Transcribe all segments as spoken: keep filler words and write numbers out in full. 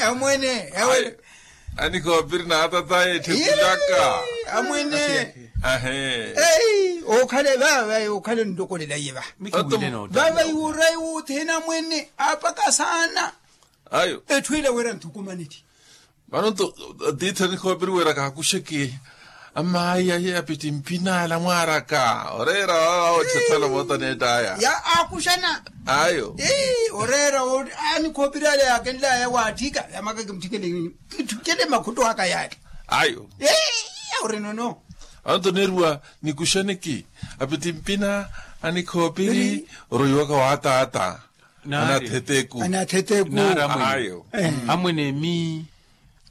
Amwene. Anikhoopiri na atataye etthikulaka. Amwene. Ahe. Okhale vava okhale onlokolela iye vaha. Vava iwurayi wuthina mwene apaka saana. Ayo. Etthu ila wira nthukumaneli. Vano nto atiithi anikhoopiri wira kaakuxeke. Amaayi aye apittimpinala mwaaraka oreera vava otthathala mootaneett'aya. Ya aakuxana. Ayo. Oreera anikhoopiri ale yaakenlaya waatthika yamaka kimutthikele. Kitthukele makhutto aka yaale. Ayo. Ori nono. Anto neeriwa nikuxaneke apittimpina anikhoopiri. Oroiwaka waataata. Anatheteku. Anatheteku. Ayo. Amwene mi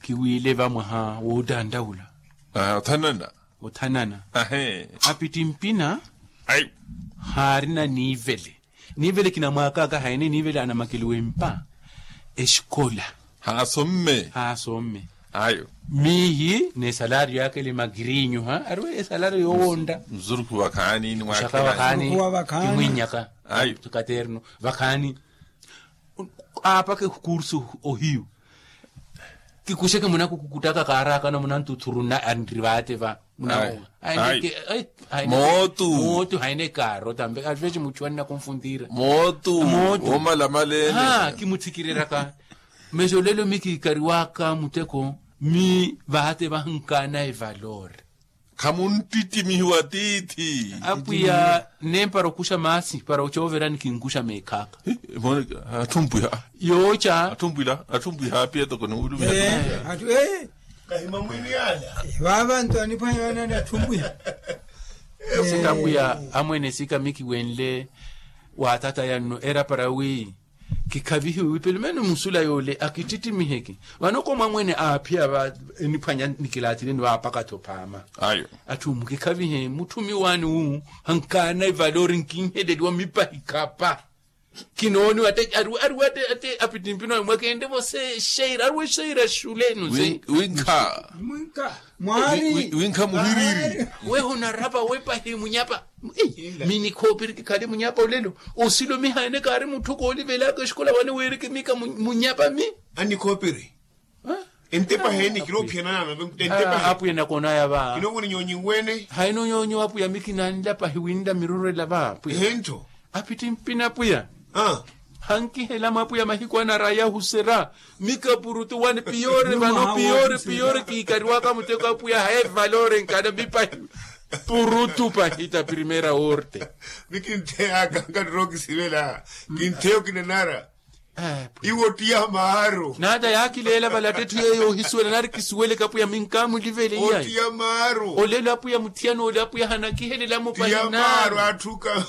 kiwiile vamwaha woottanttaula. Othanana. Othanana. Apittimpina. Haarina niivele. Niivele kinamwaakaka haine niivele anamakeliwa empa. Exikola. Haasomme. Haasomme. Ayo. Miihi n'esalario yaka ele magiriinyu ha ariwe esalario yoowontta. Mzurukhu vakhaani nimwaakhelani. Vakhaani. Kimwinyaka. Ayo. Katerno. Vakhaani. Aapaka ekursu ohiyu. Kikuxeke munakukukuttaka kaarakana munantuthuru nna anri vaate va. Munawowa. Mootu. Mootu haine kaaro tambe alifexe muchu annakunfuntiira. Mootu. Woomalamaleene. Kimuthikireryaka. Mexo lelo mi kiikariwaka muteko. Mi vaate vahankaana evalori. Khamunttittimihiwa tiithi. Apwiya nempara okuxa maasi para ocooverani kinkuxa meekhaaka. Atthumpiha. Yooca. Atthumpiha atthumpiha apiya toko niwulumi. Kahima mwini ala. Vaava nto aniphwanya vanani atthumpiha. Sika apwiya amwene sika mikiwenle. Waatataya nno era para wi kikhavihiwe wi pelumene musula yoole akittittimihe ki. Vano komwa mwene aaphiya va eniphwanya nikilaatileni vaapaka-tho phaama. Atthu mukikhavihe mutthumi waani wu hankaana evalori nkinheleliwa mipahi khapa. Kinooniwa ate ariwa ate apittimpina mwakeentte-vo se exeira ariwa exeira xulenu se. Winkha. Winkha muhiriri. Weho narapa wepahi munyapa. Mi nikhoopiri kikhale munyapa olelo. Osilo mihaene kaari mutthu koolivelaka exikola wane weereke mika munyapa mi. Anikhoopiri. Entepa heeni kiroophiyanana. Apwiya nakonaya va. Kinoowona nyonyi wene. Haino nyonyi apwiya mi kinanlapahi winla mirorela va apwiya. Ehento. Apittimpina apwiya. Hankihela mwa apwiya mahiku anaraya ohusera. Mika purutu wani piyori vano piyori piyori kiikariwaka muteko apwiya haye valori nkana mipahi. Purutu pahita primera orte. Mi kintheyaka nkattira okisivela. Kintheya okinanara. Iwe ottiya maaru. Naata yaakileela vale attetthu yeeyo ohisuwela nari kisuweleke apwiya minkamulivele iyayi. Ottiya maaru. Olelo apwiya mutthiyana ole apwiya hanakihelelamo pahinaaru. Atthuka.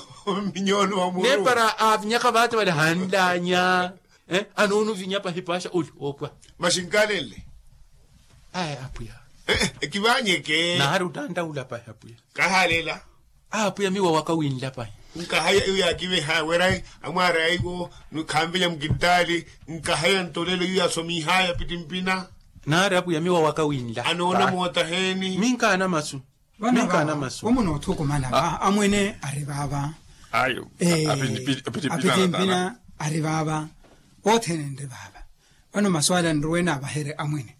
Minyoni wa muru. Nepara aavinyaka vaate vale hanlanya. Anoona ovinya pahi paaxa oli oopwa. Maxi nkaalenle. Aya apwiya. Ekivanyeke naari ottanttaula pahi apwiya. Kahalela. Apwiya miwa waka winla pahi. Nkahaya iyo yaakiveha wera amwaara yaiwo. Khanvenya mukintali. Nkahaya ntolelo iyo yaasomihaya apittimpina. Naari apwiya miwa waka winla. Anoona moota heeni. Minkaana masu. Vano vano omunoothukumana va amwene ari vaava. Ayo. Apittimpina ari vaava. Othene nri vaava. Vano maswala nruwene avahere amwene.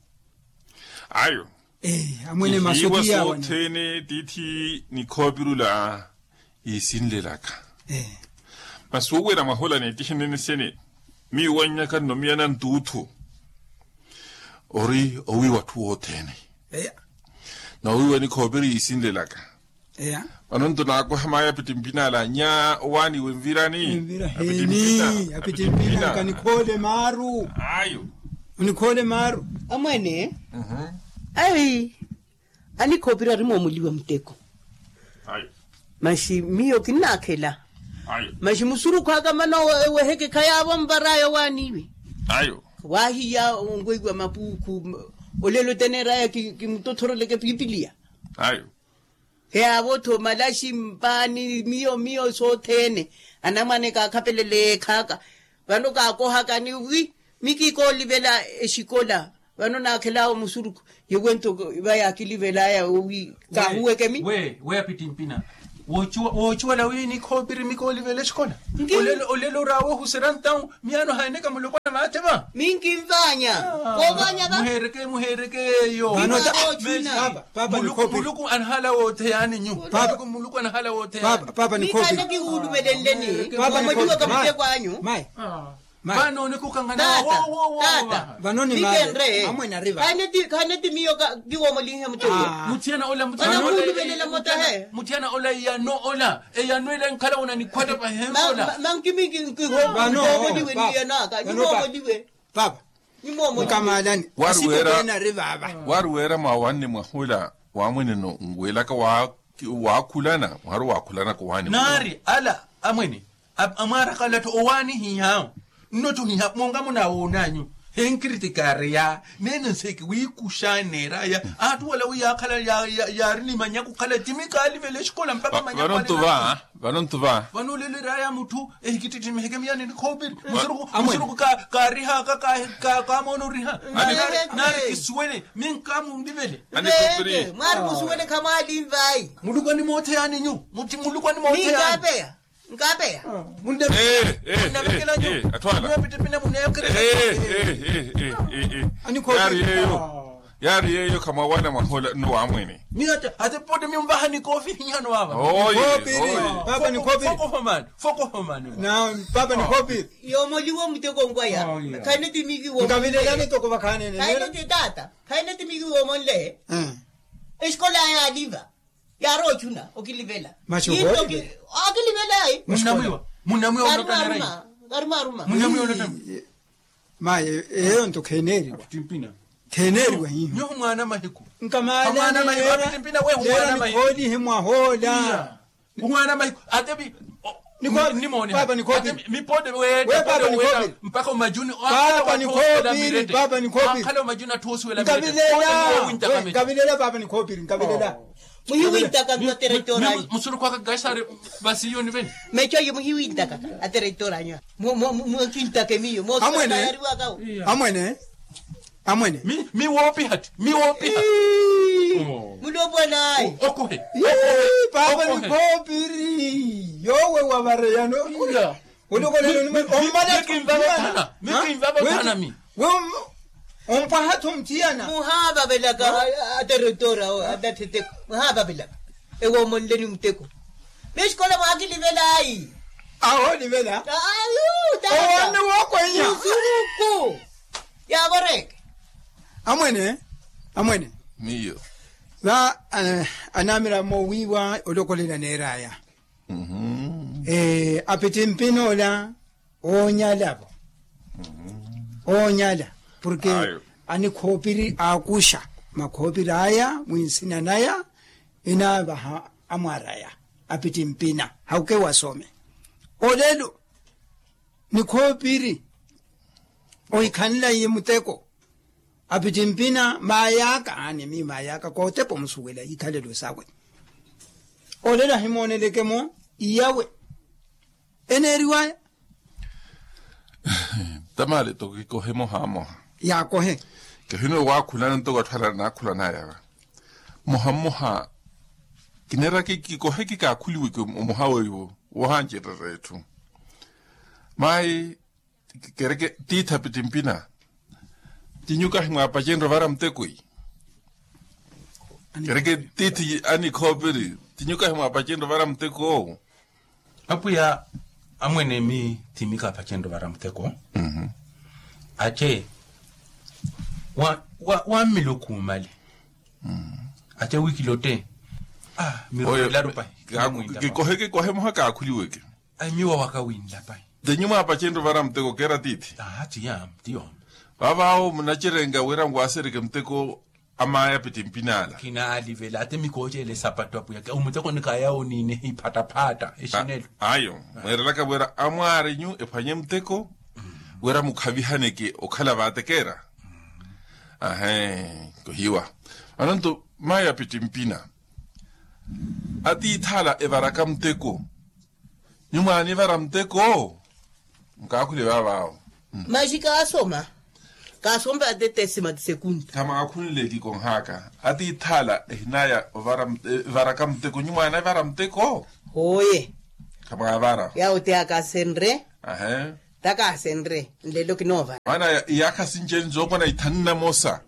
Ayo. Amwene masu tiyawa sothene tiithi nikhoopirula. Iisinlelaka. Masi wowena mwahola neettihenene sene. Miyo wannyaka nno miya nantuuthu. Ori owiiwa atthu wothene. Noowiiwa nikhoopiri yiisinlelaka. Vano nto naakoha mayi apittimpina ala nya owaaniwe nvirani. Apittimpina. Apittimpina nkanikhoole maaru. Ayo. Onikhoole maaru. Amwene. Ayi. Anikhoopira ari moomuliwa muteko. Masi miyo kinnaakhela. Masi musurukhu aka mana eweheke khayaavo mpar'aya owaaniiwe. Waahiya onweyiwa mapuukhu. Olelo teneer'aya kimutothoroleke piipiliya. Khayaavo-tho malaxi mpaani miyo miyo sothene. Anamwane kaakhapelele yeekhaaka. Vano kaakohakani wi mi kikoolivela exikola. Vano naakhel'awe musurukhu. Yowento va yaakilivel'aya owi kaahuweke mi. We apittimpina. Woocuwela wi nikhoopiri mi koolivela exikola. Olelo or'awe ohuserya ntawu miyaano haeneka mulopwana. Kinvaanya. Koovaanya va. Muheereke muheereke yeeyo. Muluku anahala wootheyaani nyu. Muluku anahala wootheyaani. Papa ni koopirinle ni. Papa ni koopirinle. Vano onikukanganaa. Vano ni maari amwene ari va. Khaneti miyo kiwoomolinhe mutthu. Mutthu ana ola mutthu ana ola. Eyano ola eyano ela enkhala wona nikhwata pahensola. Mankimi nkihoomoliwe ni eyano aka nihoomoliwe. Papa. Nkamalani. Asipepeena ari vaava. Wari weera mwawanne mwahula wamweneno nwelaka waakhulana mwari waakhulana kowaani. Naari ala amwene amwaaraka alatthu owaanihiha. Nnottuhiha monga munawoonanyu henkiriti kaareya. Neene nseeki wiikuxaneeraya atthu wala wi yaakhala yaari ni manyaku khala timi kaalivela exikola mpakha manyaku. Vanontuva. Vano ntuva. Vano olelo eraya mutthu ehikittittimihe kemiyani nikhoopiri. Musuruku kaarihaka kaamoona oriha. Naari kisuwele minkamunlivele. Mwaari musuwele khamwaalinvayi. Muluku animootheyani nyu. Muluku animootheyani. Nkaapeya. Nkaapeya. Munnavikela nyu. Munnavikela nyu. Munnavikela nyu. Yaari yeeyo khamwawana mwahola nno wamwene. Miyo ata ate pote miyo mvaha nikoofi hihano vava. Fokohomani. Fokohomani. Papa nikhoopiri. Yoomoliwa muteko nkwaya. Khaine timiki woomonle. Khaine timiki tata. Khaine timiki woomonle. Exikola yaaliva. Yaari ochuna okilivela. Okilivela ayi. Munnamwiwa. Munnamwiwa. Maye eyo nto kheneeriwa. Kheneeriwa hiho. Nyoho mwaana mahiku. Nkamaaana mahiku apitimpina wehu mwaana mahiku. Lero nikhoolihe mwahoola. Mwaana mahiku ate pi. Nimoone papa nikhoopiri. Mipote weetta papa nikhoopiri. Mpakha omajuni papa nikhoopiri. Papa nikhoopiri. Akhala omajuni atthu osuwela nkavilela. Nkavilela papa nikhoopiri nkavilela. Muhiwintaka nto atereitoranyu. Musurukwaka kaisari. Vasiyoni vene. Mecho ayo muhiwintaka atereitoranyu. Mwakintaka emiyo moosuyariwakawo. Amwene. Amwene. Miwoopiha tti miwoopiha. Mulopwanaayi. Okohe. Papa nikhoopiri yoowe wavareyano. Olokolelo ni mwe ommala. Mikinvava thana mi. Ompwaha-tho mutthiyana. Muhaavavelaka ateretora atatheteko muhaavavelaka. Ewo omonleni muteko. Mixikola mwaakilivelayi. Ahoolivela. Ayu tata owanne wookwenya. Musuruku. Yaavoreke. Amwene. Amwene. Miyo. Va anamiramo wiiwa olokolela neeraya. Apittimpina ola oonyala-vo. Oonyala porke anikhoopiri aakuxa makhoopiri aya mwinsina naya. Enaavaha amwaraya apittimpina hauke wasome. Olelo nikhoopiri ohikhanlaiye muteko. Apittimpina maayaka aani miyo maayaka kootepa omusuwela ikhalelo sawe. Olelo ahimooneleke-mo iyawe eneeriwaya. Tamaale toko kikohe moha moha. Yaakohe. Kehino waakhulana ntoko atthu ala anaakhulana yava moha mmoha. Kineeraka kikohe kikaakhuliweke omoha weiwo woohancererya etthu. Mayi kereke tiithi apittimpina. Tinyuka himwaapacenrye ovara muteko-i. Kereke tiithi anikhoopiri tinyuka himwaapacenrye ovara muteko-o. Apwiya amwene mi thimikaapacenrye ovara muteko. Ace wammilukhuumale. Ace wiikilotte. Miruwelaru pahi. Kikohe kikohe muha kaakhuliweke. Ayi miwa waka winlapahi. Te nyumwaapacenrye ovara muteko keera tiithi. Aa tiya tiyo. Vaavaawo munacerenga wira nwaasereke muteko. Amaya apittimpina ala. Kinaalivela ate mikooceela esapattu apwiyaka omuteko nikaya oniine iphattaphatta exinelo. Ayo mweerelaka wira amwaarenyu ephwanye muteko wira mukhavihaneke okhala vaatekeera. Ahe kohiwa. Ananto maya apittimpina atiithi ala evaraka muteko. Nyumwaanivara muteko. Nkaakhule vaavaawo. Maxi kaasoma. Kaasompa ate tesima ti sekunta. Khamwaakhunle kikonhaka atiithi ala ehinaya evaraka muteko nyumwaanivara muteko. Hooye. Khamwaavara yaawo ti akaasenre. Ahe. Takaasenre nlelo kinoovara. Maana iyaakha sinci eni zookona ithanu na mosa.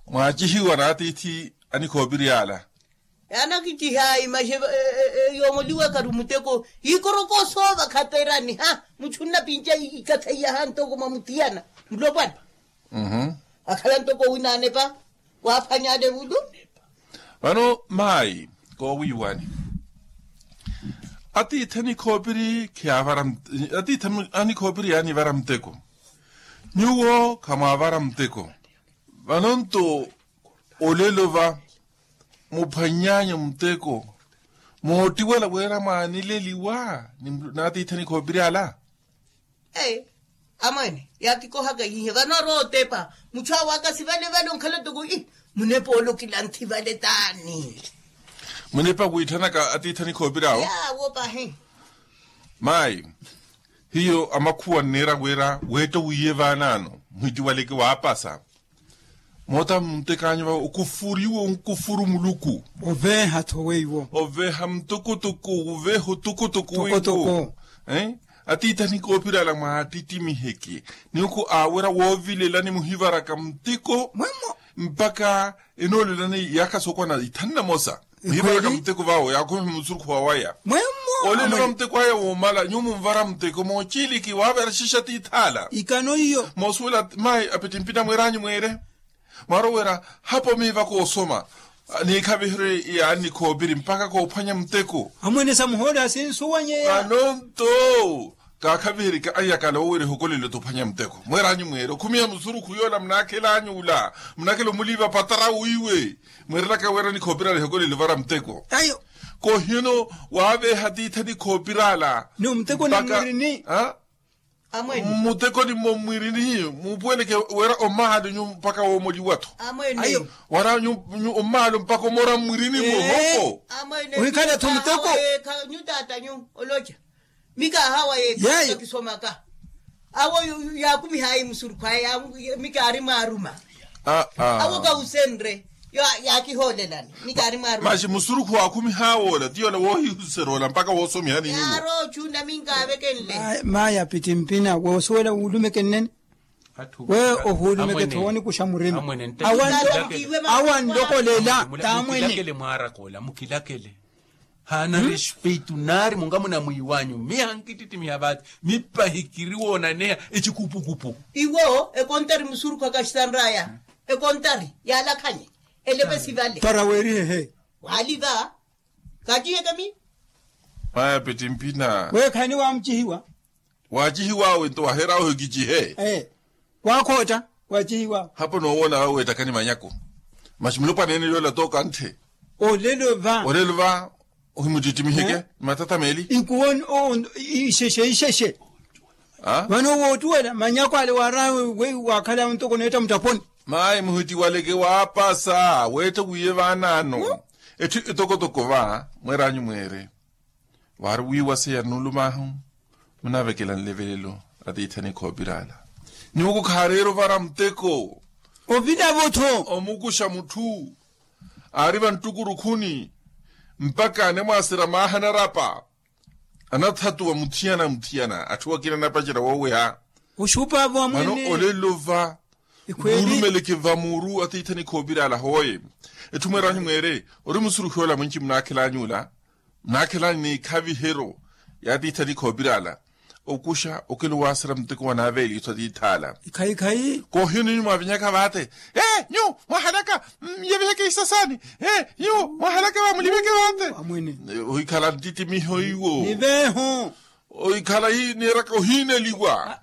Mwaacihiwa n'atiithi anikhoopiri ala. Anakicihayi maxe yoomoliwaka ri muteko. Ikoroko soova khaperani ha muchu nnapinca ikathaiyaha ntoko mwa muthiyana. Mulopwana akhala ntoko winaanepa. Waaphwanyale vulu. Vano maayi koowiiwani. Atiithi anikhoopiri khiyaavara atiithi anikhoopiri yaanivara muteko. Nyuwo khamwaavara muteko. Vano nto olelo va muphwany'anyu muteko. Moottiwela wira mwaanileliwa n'atiithi anikhoopiri ala. Amwene yaakikohaka ihihe vano arootepa. Muchu awe aka sivale vale onkhala toko ii. Munepa ole okilanthi vale taani. Munepa wiitthanaka atiithi anikhoopiri awo. Yaawo pahi. Maayi hiyo amakhuwa nneera wira weetta wiiye vaanaano. Muhitiwaleke waapasa. Moota muntek'anyu vawe okufuriwe onkufuru muluku. Oveeha-tho weiwo oveeha mutukutuku oveeha otukutuku weiwo. Atiithi anikhoopiri ala mwaatittimiheke. Ninkhu aawira woovilelani muhivaraka muteko. Mpakha enoolelani iyaakha sookwana ithanu na mosa. Muhivaraka muteko vawe yaakhumiha musurukhu wawaya. Olelo va muteko aya woomala nyuwo munvara muteko moochiliki waaveera xixatithaala. Ikano iyo. Moosuwela mayi apittimpina mweer'anyu mweere. Mwaarowera hapo miiva koosoma. Niikhaviherye yaani khoopiri mpakha koophwanya muteko. Amwene samuhoole asinsuwanyeya. Vano nto kaakhaviheryeke anyakala oowira ehokolelo t'ophwanya muteko mweer'anyu mweere okhumiha musurukhu yoola munaakhel'anyu ula. Munaakhela omuliiva patara wiiwe. Mweerelaka wira nikhoopirala ehokolelo vara muteko. Ayo. Kohino waaveeha atiithi anikhoopirala. Ni omuteko ni mwirini. Muteko ni mmwirini muupuweleke wira omaalo nyu mpakha woomoliwa-tho. Wira nyu omaalo mpakha omoora mmwirini mwohoko. Ohikhala-tho muteko. Nyu taata nyu oloca. Mika ahawa yeeyo kisomaka. Awo yaakumihaayi musurukhu aya. Mika aari mwaaruma. Awo kawusenre. Yaakihoolelani. Mika aari mwaaruma. Maxi musurukhu waakhumiha woola ti yoola woohihuserya ola mpakha woosomihani nyuwo. Yaari ochunna minka avekenle. Mayi apittimpina woosuwela wuulumeke nnene. We ohuulumeke-tho woonikuxa murima. Awa nlokolela taamwene. Mukilakele mwaaraka ola mukilakele. Haana respeito naari munga munamwiiwanyu miha nkittittimiha vaati. Mipahi kiri woonaneha ecikupukupu. Iwo ekontari musurukhu akaxitanraya. Ekontari yaalakhanye. Eleve sivale para weerihehe. Waaliva. Kaatiheke mi. Maya pittimpina. Weekhani waamucihiwa. Waacihiw'awe nto waher'awe ohikicihe. Waakhootta. Waacihiw'awe. Hapo noowoona awe weettakani manyako. Maxi mulopwana ene yoola tooka ntthe. Olelo va. Olelo va. Ohimuttittimiheke ni mattatta meeli. Inkuwo ixexe ixexe. Vano woottuwela manyako ale waar'awe. Waakhala ntoko neetta muttaponi. Mayi muhittiwaleke waapasa weetta wiiye vaanaano. Etthu etokotoko va mweer'anyu mweere. Waari wiiwaseya nulum'ahu. Munaavekela nlevelelo atiithani khoopir'ala. Nyuwo khaareera ovara muteko. Ovilavo-tho. Omukuxa mutthu aari vanttukurukhuni. Mpakha anemwaasera maaha anarapa. Anathatuwa muthiyana muthiyana atthu akina anapacerya wooweha. Oxupaavo amwene. Mano olelo va. Wuulumeleke va muuru atiithani khoopir'ala hooye. Etthu mweer'anyu mweere ori musurukhi ola mwinci munaakhel'anyu ola. Munaakhel'anyu n'ikhaviheryo y'atiithani khoopir'ala. Okuxa okelo waaserya muteko wanaaveeliso atiith'ala. Ikhayikhayi. Koohino nyu mwaavinyaka vaate. Ee nyu mwahalaka. Yeviheke isasaani. Ee nyu mwahalaka va muliveke vaate. Ohikhala nttittimiho iwo. Niveeho. Ohikhala niiraka ohiineliwa.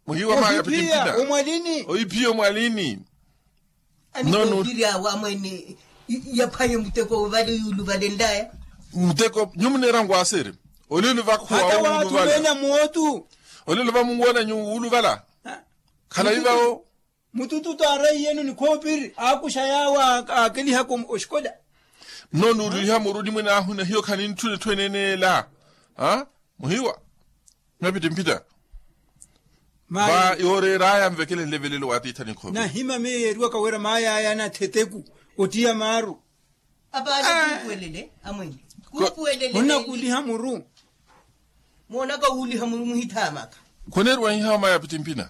Muhiwa maya pittimpina. Omwalini. Ohiphiya omwalini. Nono. Awo amwene. Yaphwanye muteko vale yuuluvalenlaya. Muteko nyu muneera ngwaaseeri. Olelo vakhuwa wuuluvala. Olelo vamuwona nyu wuuluvala. Khalayi vawo. Mutututu aaraiyeno ni khoopiri aakuxa yaawo. Aakelihaka oxikola. Nno nuuliha muru nimwene ahuna hiyo khanintthu etthu eneene ela. Muhiwa. Mapittimpita. Va yooreer'aya nvekele nlevelelo w'atiithani khoopiri. Nahima miyo yeeriwaka wira maay'aya anattheteku ottiya maaru. Apaale kumpuwelele amwene. Kumpuwelele. Onnakuuliha muru. Moonaka wuuliha muru muhithaamaka. Khuniiriwa iha maya pitimpina.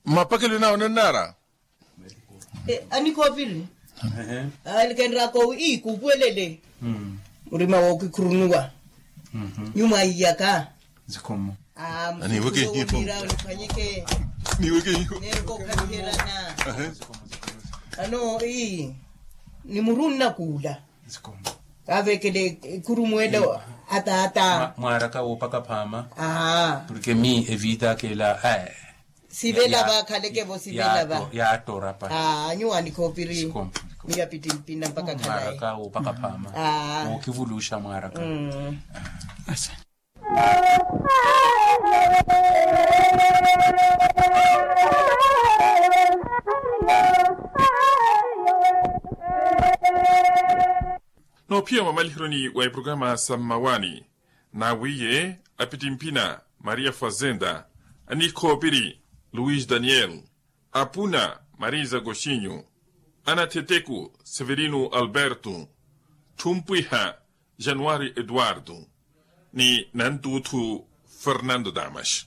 Mmapakelo nawo nannaara. Anikhoopiri. Alikenraka owi ii kuupuwelele. Murima wookikhurunuwa. Nyuma aiyaka. Aniweke iho. Niweke iho. Nerukokhaviherana. Ano ii ni muru nnakuula. Kaavekele ekhurumwelo. Ataata. Mwaaraka woopaka phaama. Purke mi evita akela. Sivela vakhaleke vo sivela va. Yaattorapa. Nyuwaani khoopiri. Miya pitimpina mpaka khalayi. Mwaaraka woopaka phaama. Wookivuluxa mwaaraka. Noophiya mwa malihironi wa ipurokaramu sa mmawaani. Nawiiye apitimpina maria fazenda, anikhoopiri luis daniel, apuna marisa koxinyu, anatheteku severino alberto, thumpwiha januari eduardo, ni nantuuthu fernando damas.